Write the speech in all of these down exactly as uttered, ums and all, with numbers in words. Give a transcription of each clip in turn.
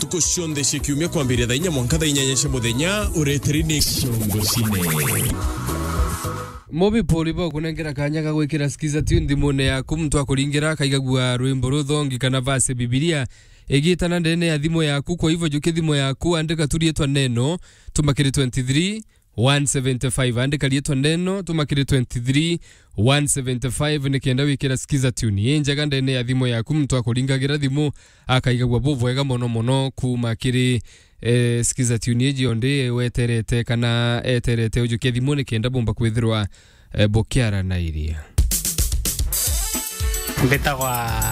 Ntuku cionthe cia kiumia kwambiria thaa inya mwanka thaa inyanya cia muthenya, ureteri ni Ciongo Cine. Mubipuri bo kunengera kanya ga gwikira Skiza Tune thimune yaku, muntu akuringira akaigagua rwimbo ruthongi kana verse Bibilia igitana ndene ya thimu yaku. Kwa hivyo, jukia thimu yaku, andika tu rietwa Neno, tuma kiri twenty-three one seventy-five. Andika rietwa Neno, tuma kiri twenty-three one seventy-five, nikenda wikira Skiza Tune injega ndene ya thimu yaku, muntu akuringagira thimu akaigagua bubwega mono mono kuma kiri, eh, Skiza Tune iji ondi weterete kana eterete ujukia thimu nikenda bumba kwithirwa, eh, bukiaranairia. Mbitagwa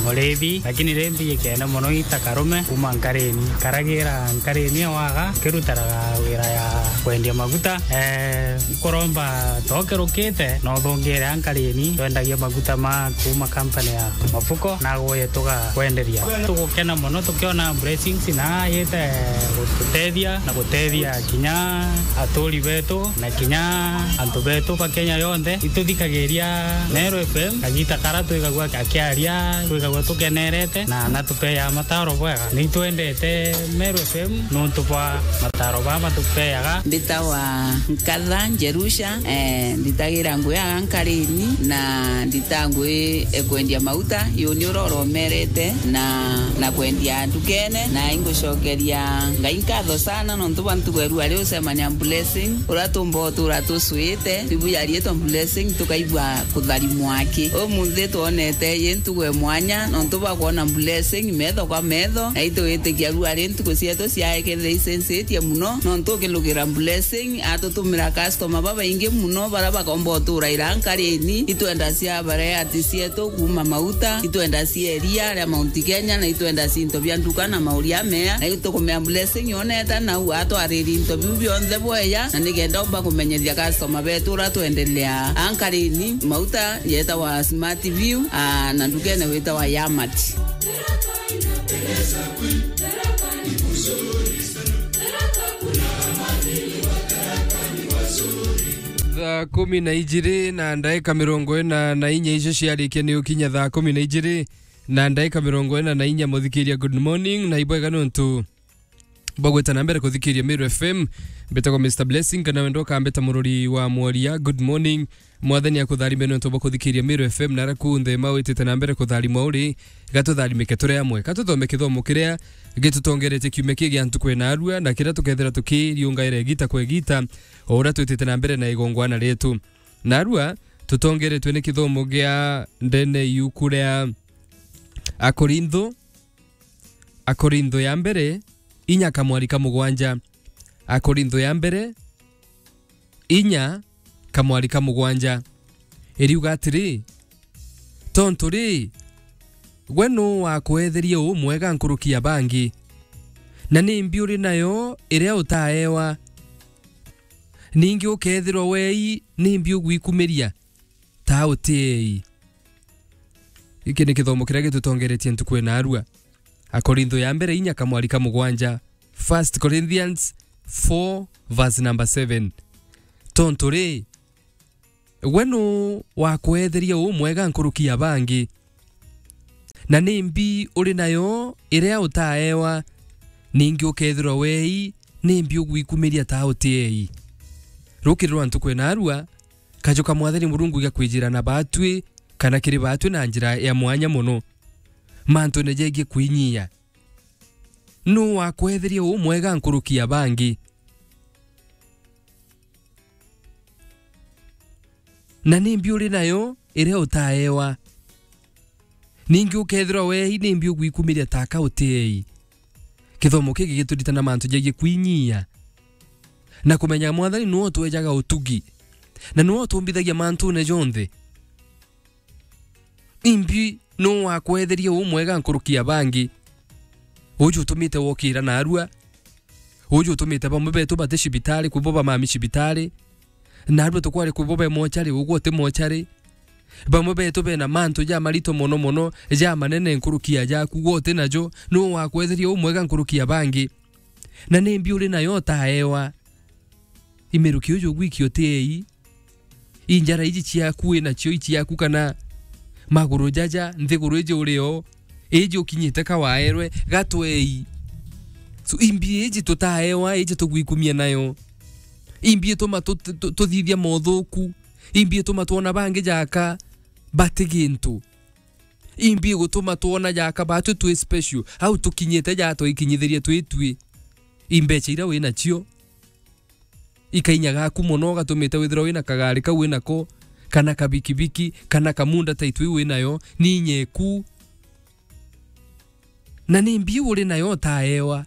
Murithi, lakini ri mbijikene mono ita Karume kuma Nkarini. Karagira Nkarini ewaga, kirutaraga wira ya kwendia maguta. Eh, nkuromba tokirukite, no thungire a Nkarini, twendagia maguta ma kuma company ya Mafuko, na gwe tuga kwenderia. Tugukena mono tukiona blessings na yite gututethia na gutethia kinya aturi betu na kinya antu betu ba Kenya yonthe. Ituthikagiria Meru F M kagita kara twigagua akiaria, twigagua tukenerete na natupeaga mataro bwega. Nitwendete Meru F M nontu bwa mataro baa matupeaga. Mbitawa Nkatha Njerusha, eh, nditagira ngui aga Nkarini na ndita ngui e kwendia mauta, yuni uroromerete na, na kwendia ndukene, na ingucokeria Ngai nkatho sana nontu bwa ntuku ya rua riu ucemania Blessing, uria tumba utura tucwite, bibu ya rietwa Blessing, tukaigua kutharimwa aki. Umunthi twonete yi ntuku e mwanya nontu bwa kwona Blessing metho kwa metho, na itwitikia rua ri ntuku cietu ciae kethira icencetie muno, nontu ukilugira Blessing atutumira customer babaingi muno, baria bakomba utura ira Nkarini. Itwenda cia bareati cietu kuma mauta, itwenda cia iria ria Mount Kenya, na itwenda cinto bia nduka na mauria mea, na itukumea Blessing yoneta nau atwariri into biu bionthe bweya, na nikenda umba kumenyethia customer betu uria twendelea. Ankarini, mauta yetawa Smart View, aa, na ndukene witawa Yamat. Thaa kumi na ijiri na ndaika mirongo ina na inya icio ciarikia ni ukinya thaa kumi na ijiri na ndaika mirongo ina na inya, muthikiria, good morning, na ibwega nontu bwa gwita na mbere kuthikiria Meru F M. Mbitagwa Mister Blessing, kana wenda ukambita murori wa mworia. Good morning. Mwathani akutharime nontu bwa kuthikiria Meru F M, na ara kunthe ma witite na mbere kutharimwa uri, gatutharimike turi amwe. Katuthome kithomo kiria gitutongeretie kiumia kii gia ntuku ina arua, na kiria tukethira tukiriungaira igita kwa igita, o uria twitite na mbere na igongwana rietu. Na arua, tutongeretwe ni kithomo gia ndene yuku ria Akorintho, Akorintho ya mbere, inya kamwari ka mugwanja. Akorintho ya mbere, inya kamwari ka mugwanja. Iriuga atiri, tontu ri, gwe nu wakwetherie umwega nkuruki ya bangi? Na ni mbi uri nayo iria utaewa? Ningi ukethirwa wei, ni mbi ugwikumiria ta utiei? Giki ni kithomo kiria gitutongeretie ntuku ina arua. Akorintho ya mbere inya kamwari ka mugwanja. First Corinthians four verse number seven. Tontu ri, gwe nu wakwetherie umwega nkuruki ya bangi? Na ni mbi uri nayo iria utaewa? Ningi ukethirwa wei, ni mbi ugwikumiria ta utiei? Rukiri rwa ntuku ina arua, kaju ka Mwathani Murungu gakwijira na batwi, kana kiri batwi na njira ya mwanya mono, mantune jegie kwinyia. Nu wakwetherie umwega nkuruki ya bangi? Na ni mbi uri nayo iria utaewa? Ningi ukethirwa wei, ni mbi ugwikumiria taka utiei? Kithomo giki gituritana mantu jegie kwinyia na kumenya Mwathani niwe utwejaga utugi na niwe utumbithagia mantune jonthe. Imbi nu wakwetherie umwega nkuruki ya bangi? Uju utumite wokira narua. Uju utumite bamwe betu bati cibitari, kwi bo bamami cibitari. Narua tukwari kwi bo be mochari, ugwe uti mochari. Bamwe betu bena mantu jamarito mono mono, jamanene nkuruki ya jaku, gwe uti najo. Nu wakwetherie umwega nkuruki ya bangi? Na ni mbi uri nayo utaewa? Imiruki uju ugwiki utiei? Injara iji ciaku winacio i ciaku, kana maguru jaja, nthiguru iji urio, iji ukinyite ka waerwe, gatwei. So, imbi iji tutaewa, iji tugwikumia nayo. Imbi ituma tu-, tu-, tuthithia mothuku. Imbi ituma twona bangi jaka bati gintu. Imbi igutuma twona jaka batwi twi special. Au tukinyite ja twikinyithirie twi twi. Imbecha ira wina cio ikainya gaku mono, ugatumite withirwa wina kagari kau winako, kana kabikibiki, kana kamunda ta itu iu winayo, ni inyeku. Na ni mbi uri nayo utaewa.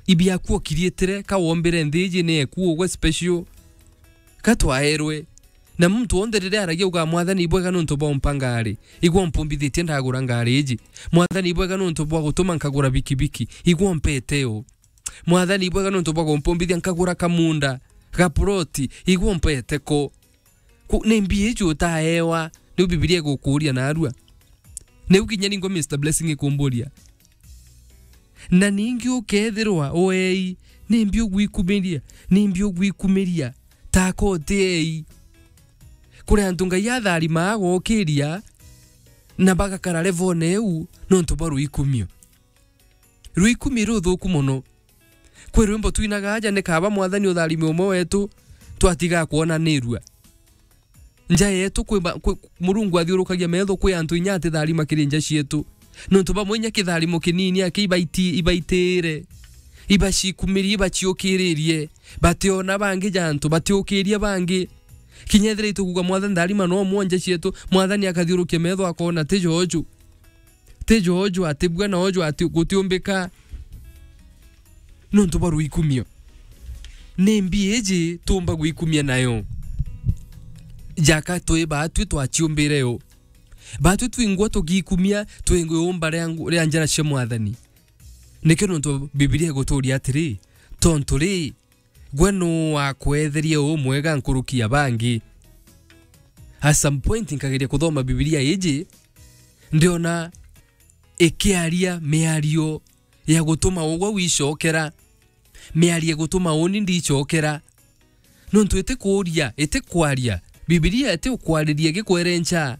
Ibiaku okiriitire, ka wombire nthi iji ni eku ugwe special. Ka twaerwe. Na muntu wonthe riria aragia uga, "Mwathani ibwega nontu bwa umpa ngari. Igwa umpumbithitie ndagura ngari iji. Mwathani ibwega nontu bwa gutuma nkagura bikibiki. Igwa umpete yo." Mwathani ibwega nontu bwa gumpumbithia nkagura kamunda, ga ploti, igwa umpete ko. Ku-, ni mbi iji utaewa, niu Bibilia igukuuria narua. Niu kinya ningwa Mister Blessing ikumburia. Na ningi ukethirwa uei, ni mbi ugwikumiria, ni mbi ugwikumiria, taka utiei. Kuri antu Ngai atharima agokiria, na bagakara levone iu, nontu bwa rwikumio. Rwikumi ruthuku mono. Kwi rwimbo twinaga aja, ni kaba Mwathani utharime umwe wetu, twatiga kwonanirua. Nja yetu kwi ba-, kwi, Murungu athiurukagia metho kwi antu inya atitharima kiri nja cietu. Nontu bamwe inya kitharimo kinini aki ibaiti-, ibaitire, ibacikumirie, ibaciukiririe. Bationa bangi ja antu, batiukiria bangi. Kinya ethira itukuga, "Mwathani tharima no umwe nja cietu," Mwathani akathiurukia metho akona ti joju. Ti joju, ati bua na oju ati gutiumbika. Nontu bwa rwikumio. Ni mbi iji tumba gwikumia nayo? Jaka twi batwi twaciumbire yo. Batwi twingwa tugikumia twingwa iumba ria ngu-, ria njara cia Mwathani. Nikio nontu Bibilia iguturia atiri, tontu ri, gwe nuu wakwetherie umwega nkuruki ya bangi? At some point nkageria kuthoma Bibilia iji, ndiona ikiaria miario ya gutuma ugwe wicokera, miario ya gutuma uni ndicokera. Nontu itikuuria, itikwaria, Bibilia itiukwariria gikwerencha,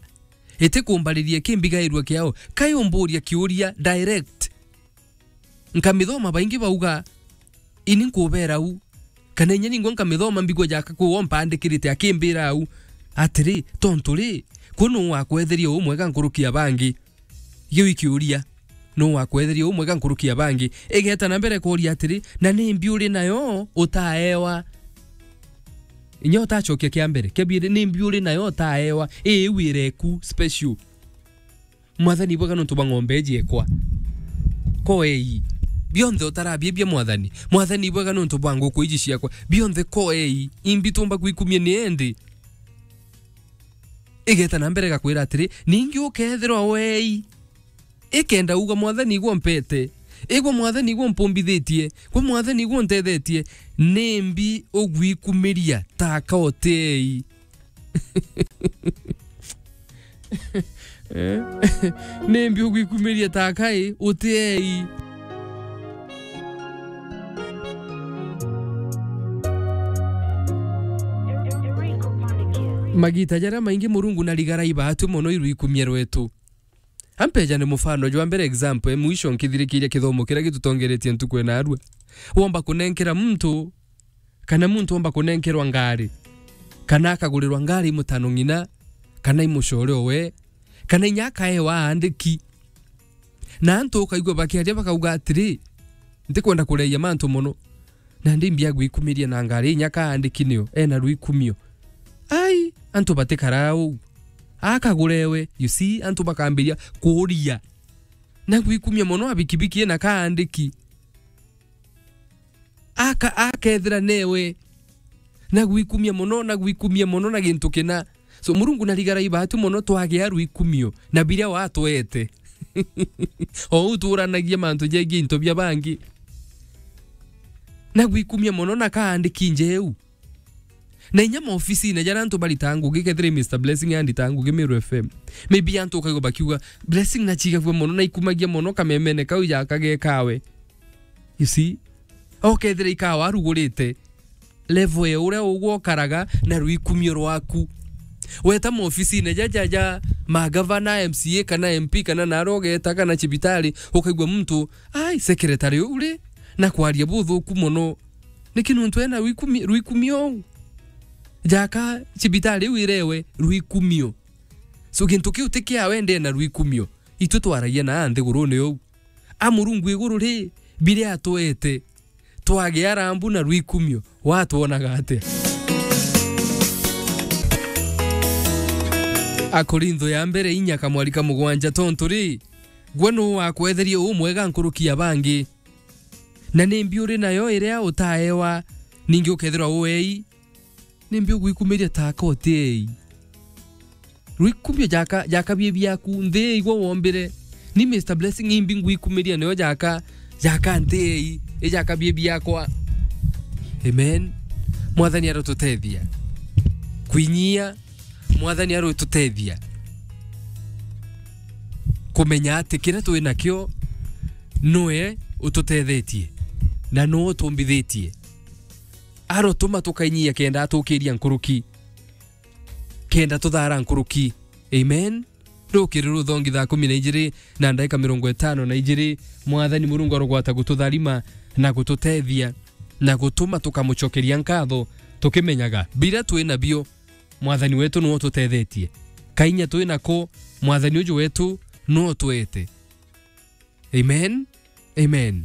itikumbariria kimbigairua kiao. Kai umburia kiuria direct. Nkamithoma baingi bauga, ini nkubera u. Kana inya ningwa nkamithoma mbigua jaka kwi wo mpandikirite akimbira au, atiri, tontu ri, kwi nuu wakwetheria umwega nkuruki ya bangi? Giu ikiuria, nuu wakwetheria umwega nkuruki ya bangi? Igeta na mbere kuuria atiri, na ni mbi uri nayo utaewa? Inya utacokia kia mbere, kia biiri, ni mbi uri nayo utaewa? Ii iu ireku special. Mwathani ibwega nontu bwa ng'ombe iji ekwa. Koei. Bionthe utarabia bia Mwathani. Mwathani ibwega nontu bwa nguku iji ciakwa. Bionthe koei. Imbi tumba gwikumia ni endi? Igeta na mbere gakwira atiri, ningi ukethirwa wei. Ikenda uga, "Mwathani igwe umpete. Igwe Mwathani igwe umpumbithitie. Gwe Mwathani igwe untethetie." Nimbi ugwikumiria taka utiei? Eh? Nimbi ugwikumiria taka i utiei? Magita jaria maingi Murungu narigara ibaatwi mono irwikumia rwetu. Ampeja ni mufano jwa mbere, example e mwisho nkithirikiria kithomo kiria gitutongeretie ntuku ena arua. Womba kunenkera muntu, kana muntu omba kunenkerwa ngari, kana akagurirwa ngari i mutano ng'ina, kana i mucore owe, kana inya akaewa aandiki. Na antu ukaigua bakiaria bakauga atiri, "Ntikwenda kureia mantu mono." Nandi mbia gwikumiria na ngari inya kaandiki nio ena rwikumio. Ai, antu batikaraa uu. Akagurewe, you see, antu bakambiria kuuria. Na gwikumia mono abikibiki ena kaandiki. Aka-, akethira newe. Na gwikumia mono, na gwikumia mono na gintu kina. So, Murungu narigara ibaatu mono twagia rwikumio na biria watwete. O uu tuuranagia mantu jegie into bia bangi. Na gwikumia mono na kaandiki njeu. Na inya maofisine jaria antu baritaa ngugi, kethira i Mister Blessing anditaa ngugi Meru F M. Maybe antu ukaigua bakiuga, "Blessing nachigagua mono, na ikumagia mono kamemene kau jakagekawe." You see? Okethira ikawa arugurite, level ya uria ugwe ukaraga na rwikumio rwaku. Weta maofisine jaja ja magavana, M C A kana M P kana naria ugeta kana cibitari, ukaigua muntu, "Ai, secretary uu ri, na kwaria buthuku mono. Niki nuntu ena rwikumio, rwikumio uu? Jaka cibitari iu irewe rwikumio. So, gintu kiu ti kiawe, ndena rwikumio. Itwe twaragia na nthigurune uu. A Murungu iguru ri, biria atwete, twagia rambu na rwikumio, watwonaga atia? Akorintho ya mbere inya kamwari ka mugwanja, tontu ri, gwe nuu wakwetherie umwega nkuruki ya bangi? Na nimbi uri nayo iria utaewa, ningi ukethirwa uei? Nimbi ugwikumiria taka utiei? Rwikumio jaka, jaka bie biaku, nthi igwe wombire. Ni Mister Blessing imbi ngwikumiria nayo jaka, jaka nthi ei, ijaka bie biakwa. Amen. Mwathani arotutethia. Kwinyia, Mwathani arotutethia. Kumenya ati kiria twi nakio, nwe ututethetie, na nwe utumbithitie. Arotuma tukainyia kenda atukiria nkuruki, kenda tuthara nkuruki. Amen. Rukiri ruthongi thaa kumi na ijiri na ndaika mirongo itano na ijiri, Mwathani Murungu arogwata gututharima na gututethia na gutuma tukamucokeria nkatho, tukimenyaga biria twi nabio, Mwathani wetu nwe ututethetie. Kainya twi nako, Mwathani uju wetu nwe utwete. Amen. Amen.